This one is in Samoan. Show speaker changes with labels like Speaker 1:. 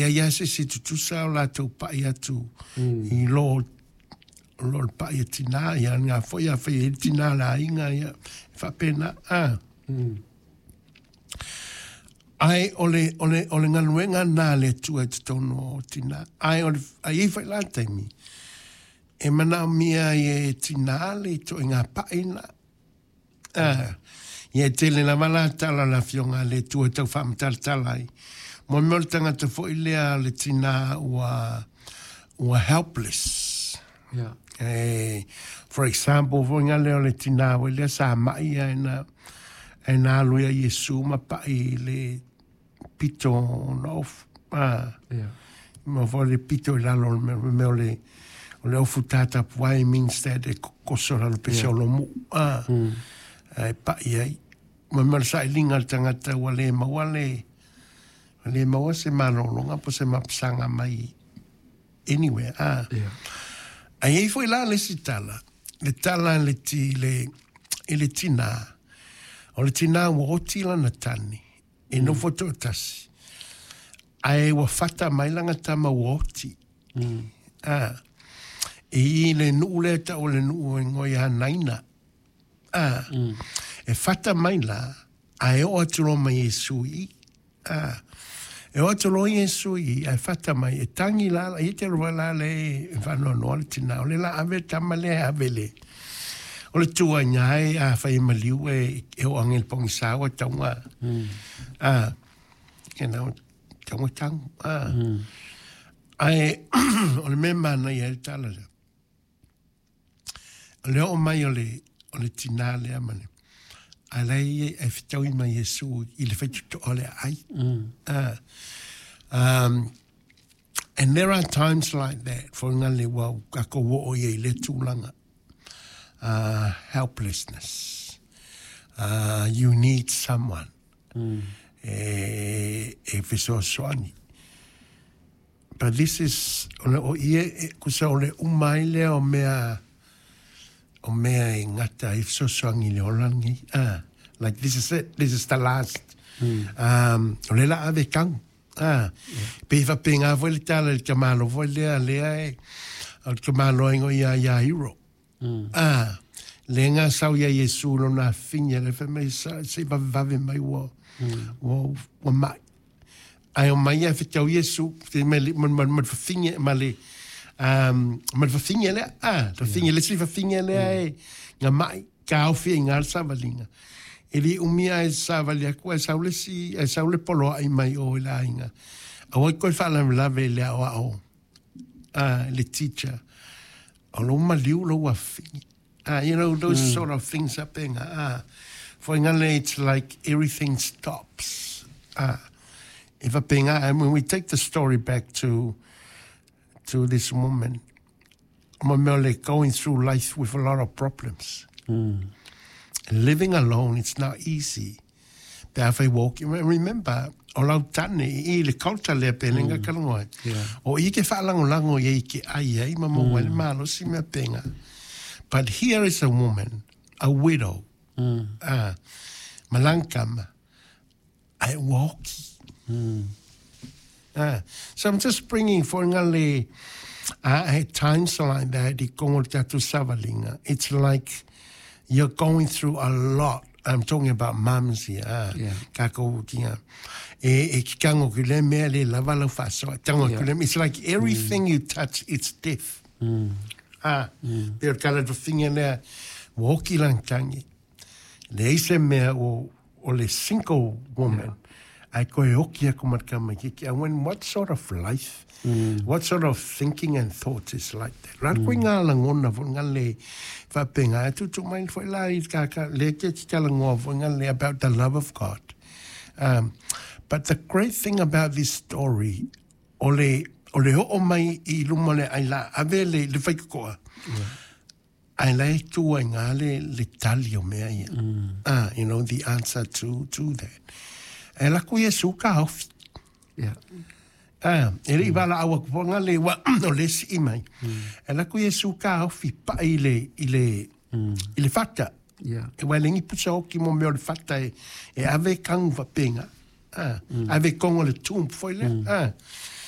Speaker 1: leai lava se isi e tutusa o latou pa'i atu i lo o le pa'i a tinā, ia lena foi afai e i ai le tinā o le aiga, ia, e faapena, a. Ae o le galuega lena a le Atua i totonu o tinā. Ae o le, ae i ai foi la taimi, e manaomia ai e tinā le ituaiga pa'i lena. Ah, ia e tele lava la tala a le Afioga a le Atua e tau faamatalatala ai. Mo mea o le tagata foi lea le tinā ua helpless. For example, foi nga lea o le tinā foi lea sa mai ae na alu ia Iesu ma pa'i i le pito o na ofu. Ah, ma foi le pito i lalo o le mea o le ofu tatapuai means that e koso lalo pe se olo. Ah, e pa'i ai. Ma mea o le sailiga a le tagata ua le maua le ua le maua se malologa po se mapusaga mai anywhere. Ah. Ae i ai foi la le isi tala, le tala le ti, le, i le tinā. O le tinā ua oti lana tane, e nofo toatasi. Ae ua fata mai lana tama ua oti. Ah. E i le nuu lea tau o le nuu e ngoi a Naina. Ah. E fata mai la, ae oo atu loa ma Iesu i. Ah. E oo atu loa Iesu i, ae fata mai, e tangi la, i te roa la le e whanoanoa le tina. O le la ave tama le ave le. O le tua i ngā e a whai e maliu e o angel pongi sawa taunga. Ah, taunga tangu. Ah. Ae, o le mea mana ia e le tala lea. O le oo mai o le tinā lea ma le, a lei e fitaui mai Iesu i le faitotoa o le aai. Ah. And there are times like that, for ngā le wau, ka ko o ia i le tūlanga. Helplessness. You need someone. E fesoasoani. But this is, o le o ia, e, kusa o le umai lea o mea e ngata i fesoasoani le olangi. Ah, like this is it, this is the last. O le la ave kau. Ah, pe fa pe ngā foi le tala le tamalo foi lea lea e, o le tamalo ingo ia ia hero. Ah, le ngā sau ia Iesu lo nā finya le fe mai sa, se vave vave mai ua mai. Ai o mai ia whitau Iesu, te me le, ma whafinge, ma le, ma le whafinge lea, ah, whafinge, le si whafinge lea e, ngā mai, ka au i ngā savalinga. E li umia e savali aku, e sau le si, e sau le polo ai mai o i la inga. A wai koe whaalawelawe le ao ao, ah, le teacher. O lo maliu lo ua fingi. Ah, those sort of things up in, ah, for ngale, it's like everything stops. Ah, if a pinga, and when we take the story back to this woman, Mamele going through life with a lot of problems. And living alone, it's not easy. Pe a whai walk, remember, o lau tane i le culture lea pe lenga kalongoa. O i ke whaalangolango i ke ai ai, ma mo wale malo si mea penga. But here is a woman, a widow, ah, malangkama, ai walki. Ah, so I'm just bringing for ngale at times like that, i kongo tatu savalinga. It's like you're going through a lot. I'm talking about mums here. Ah, Kako kinga. E ki kango ki le mea le lava lau whasoa. Tango ki le, it's like everything you touch, it's death. Ah, pe o kala tu finga lea, woki lang tangi. Le ise mea o le single woman. Ai koe oki aku matkama kiki. And when, what sort of life, what sort of thinking and thoughts is like that? Rā koe ngā langona fo ngā le whapenga. E tutu mai fo la i kaka le ke ki kala ngoa fo ngā le about the love of God. But the great thing about this story, o le ho'o mai i luma le ai la ave le whaikokoa. Ai lai tua i ngā le tali o mea ia. Ah, the answer to that. E la ku Iesu ka ofi. Ah, e le i wala awa ku ngā le wa o le si i mai. E la ku Iesu ka ofi pa i le fata. E wai lengi pusa oki mo mea o le fata e ave kangu wapenga. Ah, ave kongo le tump foi le. Ah.